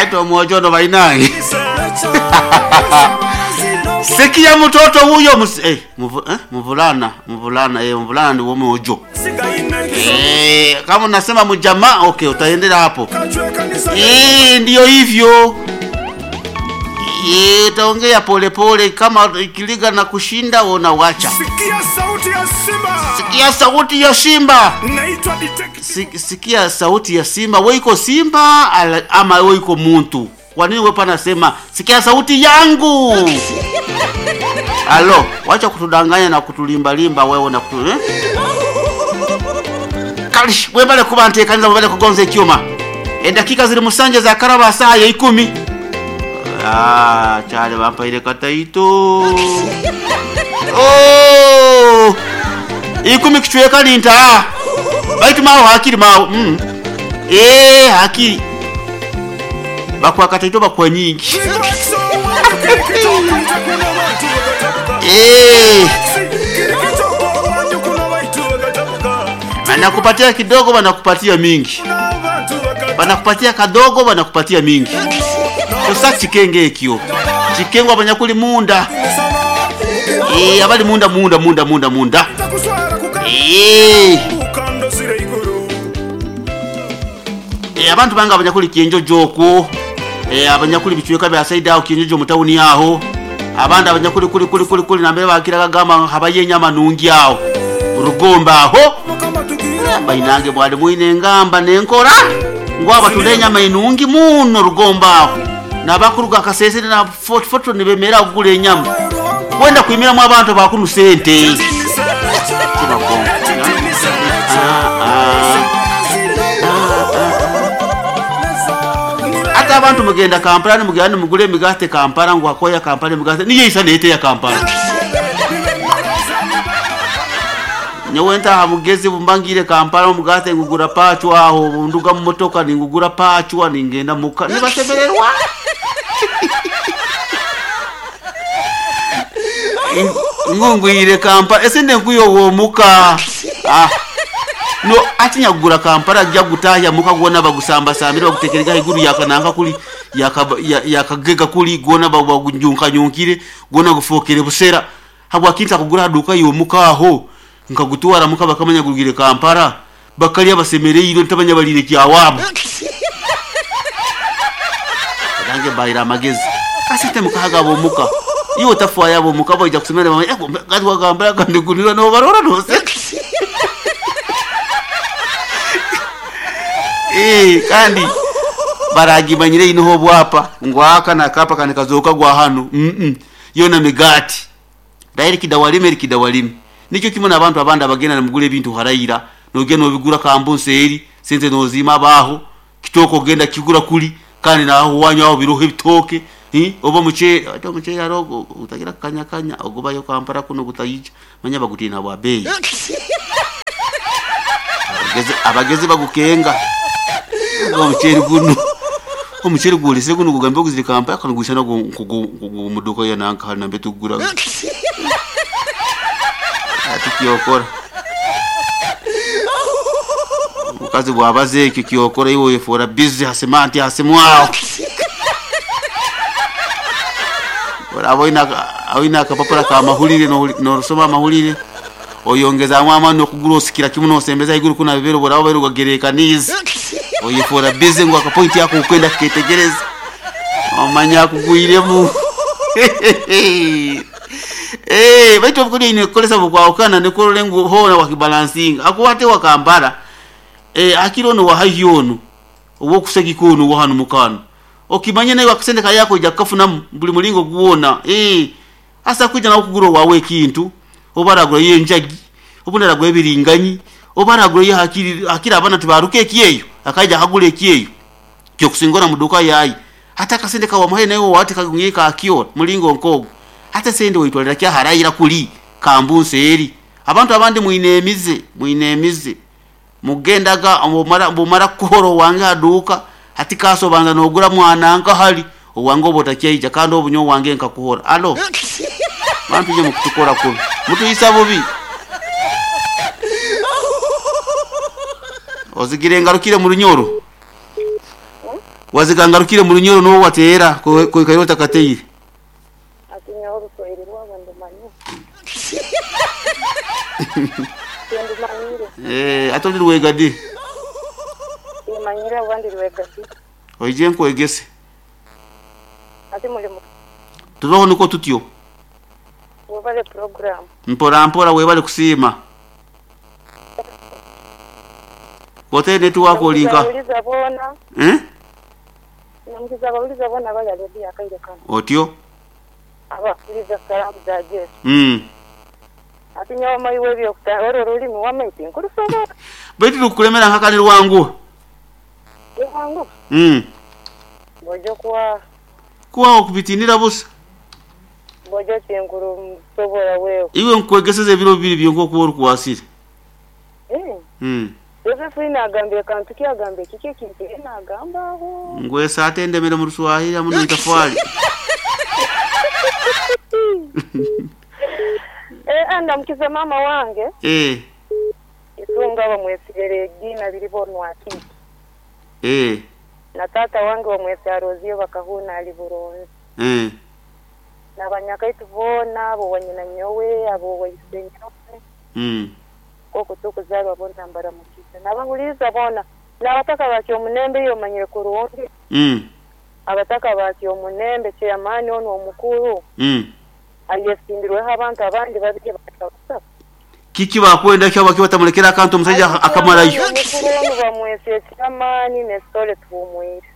Baitu omwojo ono bainange. Sikia mtoto huyo mvulana, mvulana, mvulana ni womwojo. Kama unasema mjamaa, okay, utaendelea hapo. Ndiyo hivyo. Utaongea polepole kama ikiliga na kushinda unawacha. Sikia sauti ya simba. Sikia sauti ya simba. Naitwa detective. Sikia sauti ya simba. Wewe iko simba ama wewe iko muntu? Kwa nini wewe panasema sikia sauti yangu? Alo, wacha kutudanganya na kutulimbalimba wewe na kutu, eh? Kalish, webale kuba ntekanyiza webale kugonza ekyuma. Edakika ziri musanje za karaba saa ya 10. Ah, chale bampaire kataito. Oh! 10 kichweka linta. Baitu mawo hakiri mawo. Hakiri. Bakwa kataito bakwa nyingi. Wanakupatia kidogo, wanakupatia mingi. Wanakupatia kadogo, wanakupatia mingi. Sasa chikenge ekyo. Chikengwa abanyakuli munda. Abali munda munda munda munda munda. Abantu banga abanyakuli kienjojo okwo. Abanyakuli bichweka bya saidi aho kienjojo mutawuni aho. Abandi abanyakuli kuli kuli kuli kuli nambere bakira kagamba habaye nyama nungi aho. Urugomba aho. Bainange bwali mwine ngamba nenkora. Ngwaba tulenya mainungi muno rugomba aho. Nabakuruga kasese na foto nibemera kugula enyama. Wenda kuimira mu abantu bakunu sente. Ata abantu mugenda Kampala mugenda mugule emigate Kampala ngo akoya Kampala emigate niye isa nete ya Kampala. Nyewe ntaha mugezi bumbangire Kampala omugate ngugura pachwa aho nduga mu motoka ningugura pachwa ningenda muka nibasemererwa. Ngungwire Kampala esende nkuyo womuka. No atinya kugura Kampala ajja gutahya muka gwona bagusamba sambira bagutekerega iguru yakananga kuli yakagega kuli gwona bagunyunka nyunkire gwona gufokere busera habwa kinta kugura duka yomuka aho nkagutwara muka bakamanya gugire Kampala bakalya basemereire ntabanya balire kyawabo. Nange bayira amagezi asite mukahaga bomuka iyo tafwa yabo muka boija kusemera mama gatwa Kampala kandigunira no barora no se. Kandi baragimanyire inoho bwapa ngwaka nakapa kandi kazoka gwa hano. Yona migati dairi kidawalime kidawalime nicyo kimwe nabantu abandi abagenda namugule ebintu harayira nogenda obigura kambunse sente nozima baho kitoko genda kigura kuli kandi naho wanyu aho biroho ebitoke oba muche ato muche yarogo utagira kanya kanya ogobayo Kampala kuno gutayija manya bagutina bwa bei. Abagezi bagukenga omucheri guno omucheri gulise guno kugambe kuziri Kampala kana gusana ku muduka ya nanka hali nambe tugura ati kyokora mukazi bwabaze ekyo kyokora iwe yefora busy hasemanti hasemwao ora aboina akapapura ka mahulire no rusoma mahulire oyongeza amama no kugura osikira kimu nosembeza iguru kuna bibero borabo beruga gerekaniza oyefora busy ngo akapoint yako ukwenda ketegereza omanya kugwiremu. Baitu obukuri ine kolesa bukwawukana nekorole ngu hona wakibalansinga akuwate wakambara akiro no wahayyono owokusegiko ono wahanu mukano okimanye naye wakasendeka yako ija kafuna buli mulingo guwona. Asa kuja na kugura wawe ekintu obaragura yenjagi obunaragura ebiringanyi obaragura ye hakiri akira abana tibaruke ekiyeyo akaija akagura ekiyeyo kyo kusingora muduka yayi hata kasendeka wamuhaye naye wati kagungika akio mulingo nkogo hata sende witwalira kya harayira kuli kambunse eri abantu abandi muinemize mugendaga omara kuhoro wange aduka hati kaso banza nogura mwana nka hali owange obotakyaija kandi obunyo wange nkakuhora. Alo bantu je mukutukora kubi mutuyisa bubi ozigire ngarukire mu runyoro. Wazigangarukire mu Runyoro n'obu wateera koikaire otakateire. Ati nyowe oruswahili rwabo ndumanyire. Tindumanyire. Eh, ate oli rwega di? Timanyire oba ndi rwega di. Oije nkwegese. Ati muli mu Turoho niko tutyo. webale program. Mpora mpora webale kusiima. Kote network olinka. Bawuliza boona. Eh? Namukiza abawuliza boona abali aleediyo akaire kano. Otyo? Abakuliza salaamu za Jesu. Mm. Ati nyowe omaiwe ebyokuta orwo orulimi wama tinkurusobola. Baitu lukulemera nkakani rwangu. Rwangu. Mm. Ngoja kuwa Kuwa okubitinira busa. ngoja tinkurusobola wewe. Iwe nkwegeseza ebiro bibiri byonka okuba orukwasire. Eh. Mm. Josephine agambye kantu ki agambye kiki ekintu ye nagamba aho. Ngwesa ate ndemere mu Ruswahili amu n'itafwali. Eh, andamukiza mama wange. Eh. Isunga bamwesire Regina biribonwa akiki. Eh. Na tata wange bamwese Arozio bakahuna ali buronzi. Eh. Na banyakaitu boona abo wanyina nyowe abo waise nyowe. Mm. Koko tukuzarwa bona mbaramukiza. Nabahuliza bona n'abataka bakyo omunembe iyo omanyire kurungi. Mm. Abataka bakyo omunembe chairman ono omukuru. Mm. Ayesimbirweho abantu abandi babiri bakabasaba. Kiki bakwenda kyo baki batamulekera akantu omusajja akamarayo. Omukuru ono bamwese chairman ne sole tuhumwire.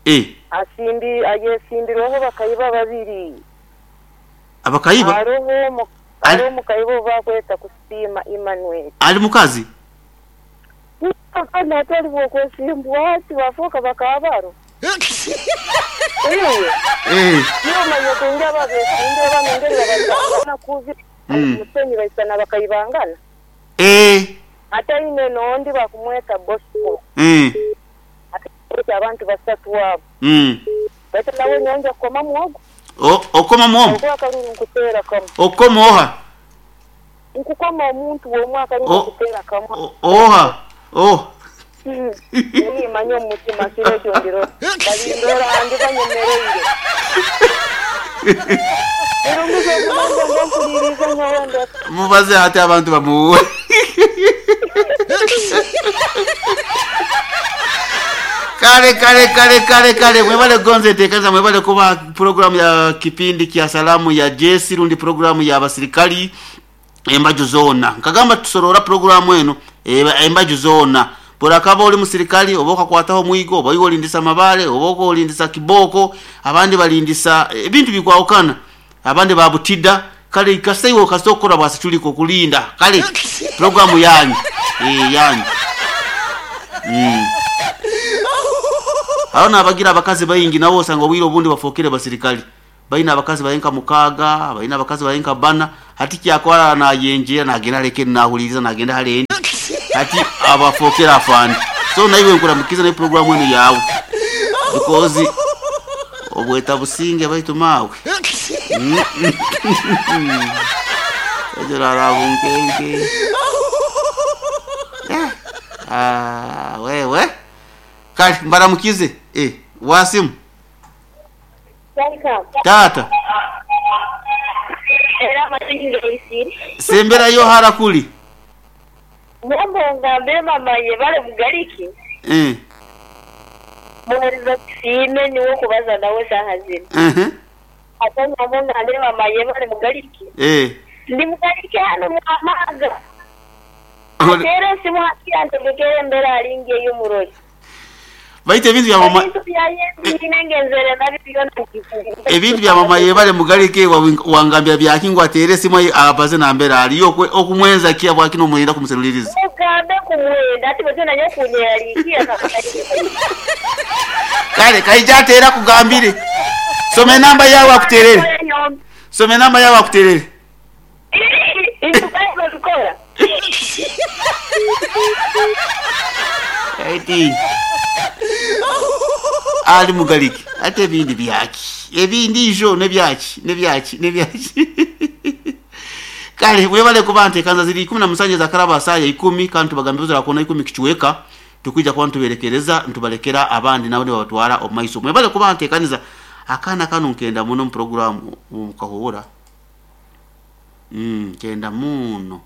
Eh. Asimbi ayesimbirweho bakayiba babiri. Abakayiba? Hariho omukayiba obakweta kusiima Emmanuel. Ali mukazi? Kandi ate ali bwokwesimbwa ati bafuuka bakabaro. Iwe. Eh. Niyo omanye kungi ababeesimbire bano engeri babazana kubi. Musenyi baisana bakayibangana. Eh. Ate aine n'ondi bakumweta Bosco. Eh. Ate abantu basatu abo. Mm. Baitu nawe nyonja kukoma muhogo. Okoma muhogo? Okuba akaruru nkuteera kamwe. Okoma oha? Nkukoma omuntu w'omwe akaruru nkuteera kamwe. Oha. Oh. Nimanya omu mutima kiro ekyo ndiro. Balindora andi banyemereire. Irunguzo omulembe ngonkuliriza nyowe ndeka. Mubaze ate abantu bamuwe. Kale kale kale kale kale mwebale gonze tekanza mwebale kuba programu ya kipindi kya salamu ya Jesse rundi programu ya abasirikali embaju zona. Nkagamba tusorora programu eno embaju zona. Burakaba oli musirikali oba okakwataho mwigo oba iwe olindisa mabale oba olindisa kiboko abandi balindisa ebintu bikwawukana abandi babutida kale kasaiwo kasokora bwasituliko kulinda kale programu yanyu yanyu. Aho abagira abakazi bayingi nabo osanga obwire obundi bafokere basirikali bayina abakazi bayenka mukaga bayina abakazi bayenka bana hati kyakwara nayenjera nagenda leke nahuliriza nagenda hale hati abafokera afandi. So naiwe nkuramukiza na programu eno yawe because obweta businge baitu mawe ejora rabunkenke. Ah wewe kali mbaramukize wasimu. Welcome. Tata. Era matingi isiri. Sembera yo harakuli. Mwambo ngambe mama ye bale mugariki. Eh. Muheriza sime niwo kubaza nawe sahazina. Mhm. Ata mwambo ngambe mama ye bale mugariki. Eh. Ndi mugariki hano mwamaga. Atera simu haki mbere alinge y'umuroyi. Baite ebintu bya mama ebintu bya mama yebale mugarike wangambya byakingwa atere simu abaze nambera aliyo okumwenza kia bwakino mwenda kumuseluliriza. Ugambe kumwenda ati bwe nanyo kunyeralikia. Kale kaija atera kugambire. Some namba yawe akuterere. Some namba yawe akuterere. Intukora. Eti ali mugaliki ate ebindi byaki ebindi ijo nebyaki nebyaki nebyaki. Kale mwebale kubante kanza ziri 17 za karaba saya 10 kantu bagambiza rakona 10 kichweka Tukwija kuba nituberekereza nitubalekera abandi nabo nibabatwara omu maiso. Mwebale kuba ntekaniza akaana kanu nkenda muno mu programu mukahuura. Nkenda muno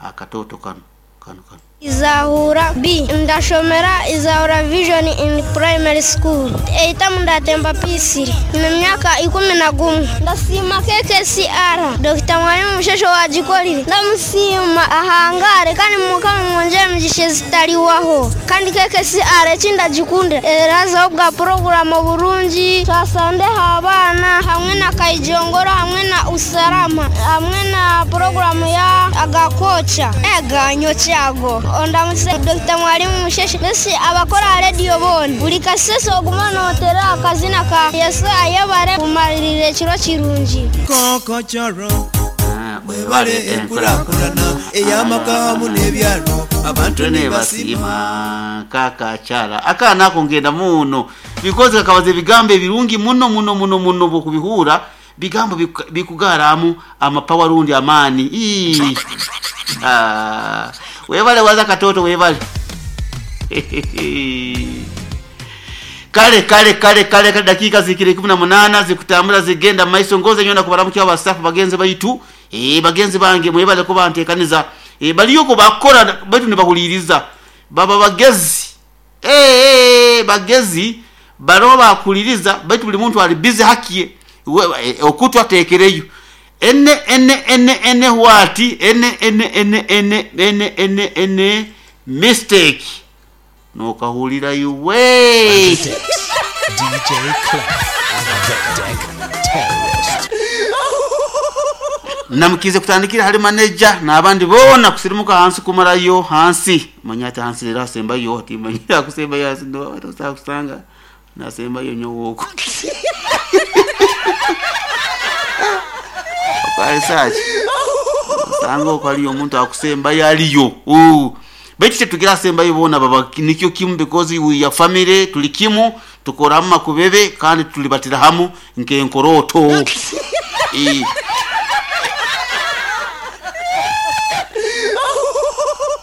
akatoto kanu kanu kanu. Izahura B ndashomera Izahura Vision in Primary School eitamu ndatemba P3 na myaka 11. Ndasiima KKCR Dr. Mwalimu Mushesho wagikolire, ndamusiima ahangare kandi mukama mwongere emigisha ezitaliwaho. Kandi KKCR ekindagikundira erazaho bwa poroguramu oburungi twasandeho abaana hamwe na Kaijongoro hamwe na Usalama hamwe na poroguramu ya agakocha eganyo kyago. Ondamutse Dr. Mwalimu Musheshe mbese abakora rediyo bona buri kasese oguma notera akazina ka Yesu ayebare kumalirira ekiro kirungi. Kokochoro Mwebale enkulakulana ey'amaka hamu n'ebyalo abantu ne ne basiima kakakyala akaana ako ngenda muno because kakabaza ebigambo ebirungi muno muno muno muno bwokubihura bigambo bikugaramu amapawa rundi amaani. Ii. Webale waza katoto webale. Kale kale kale kale kale dakika zikiri 18 zikutambula zigenda maiso ngoze nyona kubaramukia abastaff bagenzi baitu. Bagenzi bange mwebale kuba ntekaniza. Baliyoko bakora baitu nibahuliriza baba bagezi. Bagezi baro bakuliriza baitu buli muntu ali busy hakiye okutwa tekereyo ene ene ene ene wati ene ene ene ene ene ene ene mistake nokahulira yuwe DJ Clef, the Deck Terrorist. Namukize kutandikira hali manager n'abandi bona kusirimuka hansi kumarayo hansi manya ati hansi rero asembayo ati manya akusembayo hansi ndo atosa kusanga nasembayo nyowoko okalisachi osanga okwaliyo omuntu akusembayo aliyo. Baitu tetugira asembayo bona baba nikyo kimu because we are family tuli kimu tukoramu makubebe kandi tulibatira hamu nkenkoroto.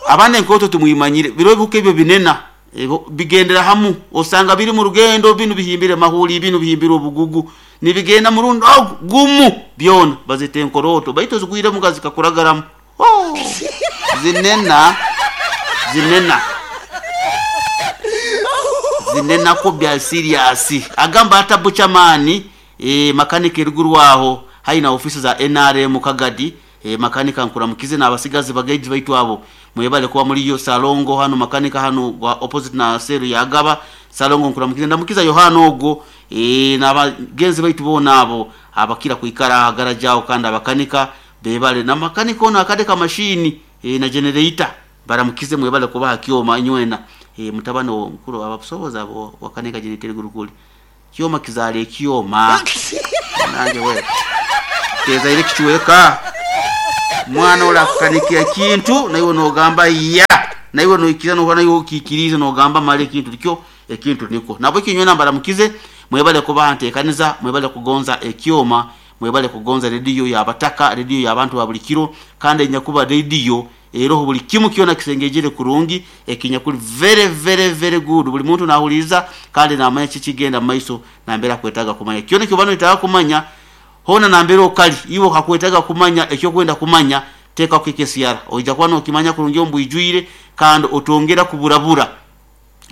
Abana enkoto tumwimanyire biro bihuka ebyo binena bigendera hamu osanga biri mu rugendo binu bihimbire mahuli binu bihimbire obugugu nibigenda murundo gumu byona bazite enkoroto baitu zigwire mugazi kakuragaramu. Oh, zinena zinena zinena ko bya serious agamba atabucha mani makanika eruguru aho haina ofisi za NRM Kagadi. Makanika nkuramukize n'abasigazi bagaiji baitu abo mwebale kuba muri yo salongo hano makanika hano gwa opposite na seru ya Gaba salongo nkuramukize ndamukiza Yohana ogwo n'abagenzi baitu bona abo abakira kuikara garajao kandi abakanika bebale na makanika ono akadeka mashini na generator baramukize mwebale kuba hakioma nywena mutabano mukuru abasoboza abo wakanika generator gurukuli kioma kizale kioma nange we teza ile kichweka mwana olakukanikia kintu naiwe nogamba ya naiwe noikiriza nokuba naiwe okikiriza nogamba male ekintu nikyo ekintu niko nabo ekinywe nambaramukize mwebale kuba ntekaniza mwebale kugonza ekyoma mwebale kugonza rediyo y'abataka rediyo y'abantu ba buli kiro kandi enyakuba rediyo eroho buli kimu kyona kisengejere kurungi ekinyakuli very very very good buli muntu nahuliriza kandi namanya kikigenda mu maiso nambera kwetaga kumanya kyona kyobano etaga kumanya hona nambera okali iwo hakwetaga kumanya ekyo kwenda kumanya teka KKCR oija kuba nokimanya kurungi ombwijwire kandi otongera kuburabura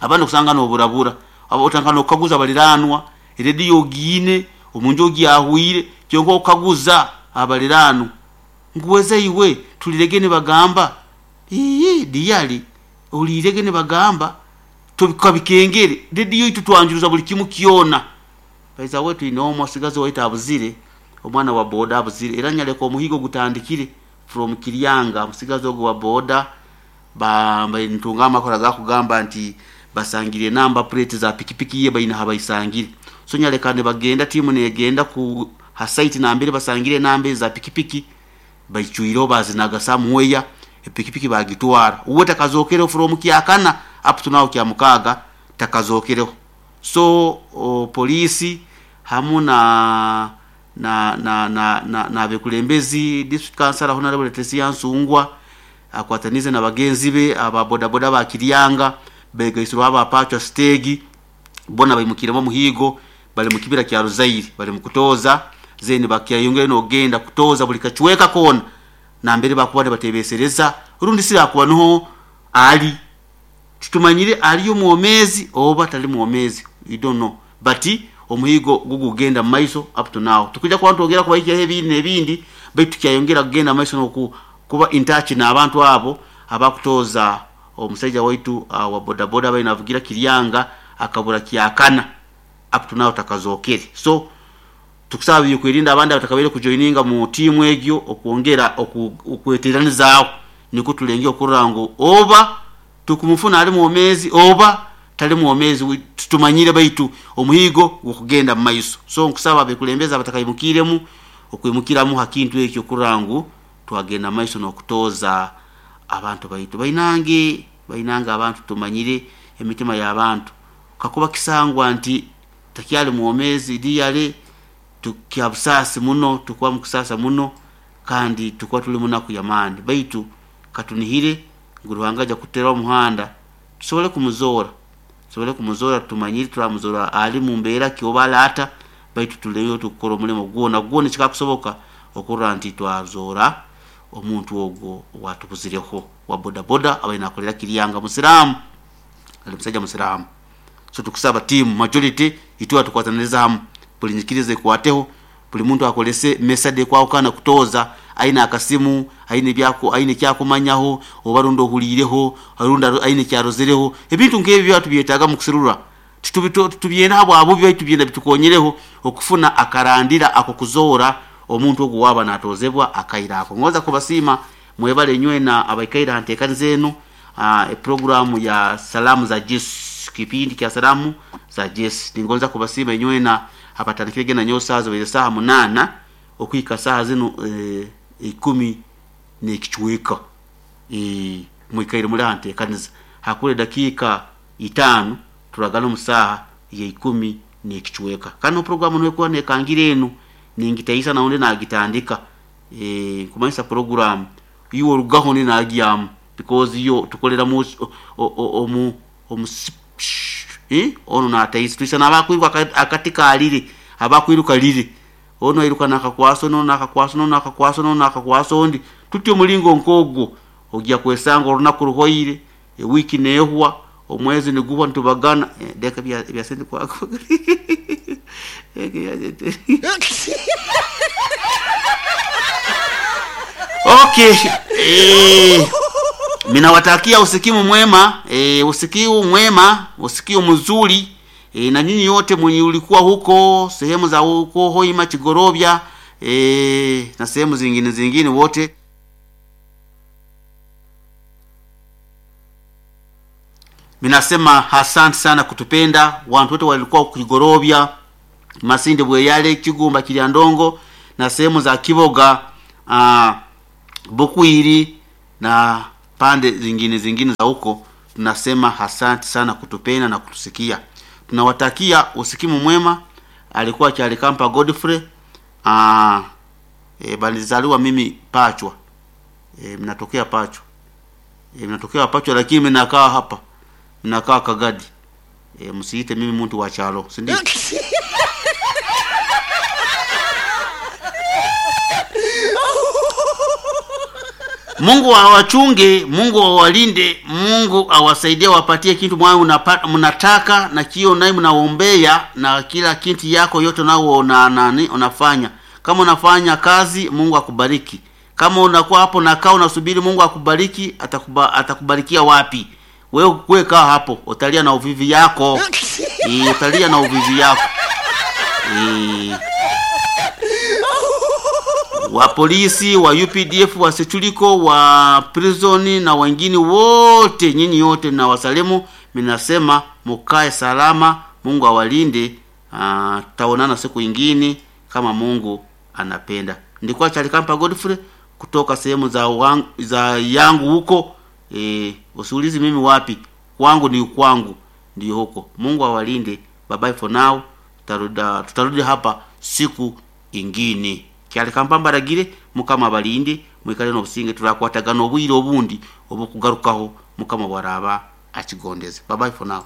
abandi kusanga noburabura abo otanga nokaguza baliranwa rediyo giine omunju ogyahwire kyonka okaguza abalirano nkuweze iwe tulirege nibagamba ii diyali olirege nibagamba tubikabikengere rediyo itu twanjuruza buli kimu kyona baiza wetu inomo asigazi waita abuzire omwana wa boda abuzire era nyaleka omuhigo gutandikire from Kiryanga musigazi ogwo wa boda bamba ntunga amakora gakugamba nti basangire namba plate za pikipiki ye baina habaisangire so nyaleka ne bagenda timu negenda ku ha site nambere basangire namba za pikipiki baichuiro bazinaga somewhere epikipiki bagitwara uwe takazokere from Kyakana up to now kya mukaga takazokereho so polisi hamu na na na na na, na bekulembezi district council honorable Tesia Nsungwa akwatanize na bagenzi be aba boda boda ba Kiryanga Begaisirwe aba Pachwa stage bona baimukiremu omuhiigo, bali mu kibira kya Ruzairi bali mu kutoza zeni bakyayongera nogenda kutoza buli kacweka koona nambere bakuba nibatebesereza rundi si akuba niho ali tutumanyire aliyo mwomezi oba tali mwomezi, you don't know, but omuhigo gugugenda mumaiso up to now. Tukuja kuba twongera kubahikiaho ebindi n'ebindi, baitu tukyayongera kugenda mumaiso n'oku kuba in touch n'abantu abo abakutoza omusaija waitu wa bodaboda abaire navugira Kiryanga akabura kyakana up to now takazokere. So tukusaba byokwerinda abandi abatakabaire kujoininga mu tiimu egyo okwongera okweteranizaaho nikwo tulenge okurora ngu oba tukumufuna ali mwomezi oba tali mwomezi, tutumanyire, baitu omuhigo gukugenda mu maiso. So nkusaba abekulembeza abatakaimukiremu okwimukiramu ha kintu ekyo kurora ngu twagenda mu maiso n'okutoza abantu baitu. Bainange bainange abantu tumanyire emitima y'abantu, kakuba kisangwa nti takyali mwomezi liyale tukyabusaasi muno, tukuba mukusasa muno kandi tukuba tuli munaku y'amaani, baitu katunihire ngu Ruhanga aja kutera omuhanda tusobole kumuzoora, tusobole kumuzoora, tumanyire turamuzoora ali mu mbeera ki oba ali ata, baitu tuleyo tukukora omulimo gwona gwona ekikakusoboka okurora nti twazoora omuntu ogwo owatubuzireho wa bodaboda abaire nakolera Kiryanga, musiraamu, ali musaija musiraamu. So tukusaba tiimu majority itwe tukwataniriza hamu, buli nyikiriza ekwateho, buli muntu akolese mesade ekwahukana kutoza aine akasimu, aine byako, aine kyakumanyaho oba rundi ohuliireho rundi aine kyarozereho, ebintu nk'ebyo byaba tubyetaaga mu kusirura tubyenda habwa bubi, baitu byenda bitukonyereho okufuna akarandira ako kuzoora omuntu ogwo waba natozebwa akaira ako. Ngoza kubasiima mwebale nywena abaikaire ha nteekaniza enu, programu ya salamu za Jesu, kipindi kya salamu za Jesu. Ningonza kubasiima nywena abatandikire genda nyowe saaha zibaire saaha 8 okuhika saaha zinu 10 n'ekicweka, mwikaire muli ha nteekaniza. Hakura edakiika 5 turagana omu saaha ya 10 n'ekicweka. Kandi programu nekuba nekangira enu ningitaisa naundi nagitandika, nkumanyisa programu iwe orugaho ndi nagyamu, because yo tukoleramu omu ono nataisa tuisa nabakwiruka akati kalire, abakwiruka lire, ono airuka nakakwasa ono nakakwasa ono nakakwasa ono nakakwasa ondi, tutyo omulingo nkogwo ojja kwesanga olunaku ruhoire, ewiki nehwa, omwezi niguhwa nitubagana deka bya sente kwako. Okay, minawatakia usikimu mwema, usikiu mwema, usikiu mzuri, na nyinyi yote mwenye ulikuwa huko sehemu za huko Hoima, Chigorobya, na sehemu zingine zingine wote. Minasema asante sana kutupenda wantu wote walikuwa Kigorobya, Masinde, Bweyale, Kigumba, Kiryandongo na sehemu za Kiboga, Bukwiri na pande zingine zingine za huko. Tunasema asante sana kutupenda na kutusikia. Tunawatakia usikimu mwema. Alikuwa Kyalikampa Godfrey. Balizaliwa mimi Pachwa. Mnatokea Pachwa. Mnatokea Pachwa lakini mnakaa hapa. Mnakaa Kagadi. Msiite mimi mtu wa chalo, si ndio? Mungu awachunge, Mungu awalinde, Mungu awasaidie, awapatie kitu mwayo mnataka na kio naye mnaombea na kila kitu yako yote nao na nani unafanya. Kama unafanya kazi, Mungu akubariki. Kama unakuwa hapo na kaa unasubiri Mungu akubariki, atakubarikia wapi? Wewe wewe kaa hapo, utalia na uvivi yako. Utalia na uvivi yako. Wa polisi, wa UPDF, wa Sechuliko, wa prison na wengine wote, nyinyi yote na wasalimu, minasema mukae salama, Mungu awalinde. Tutaonana siku ingine kama Mungu anapenda. Ndikuwa Kyalikampa Godfrey kutoka sehemu za yangu huko. Usiulizi mimi wapi, kwangu ni kwangu, ndio huko. Mungu awalinde. Bye bye for now. Tutarudi hapa siku ingine. Kyalikampa mbaragire, Mukama abalinde, mwikale n'obusinge, turakwatagana obwire obundi obukugarukaho Mukama bwaraba Akigondeze. Bye bye for now.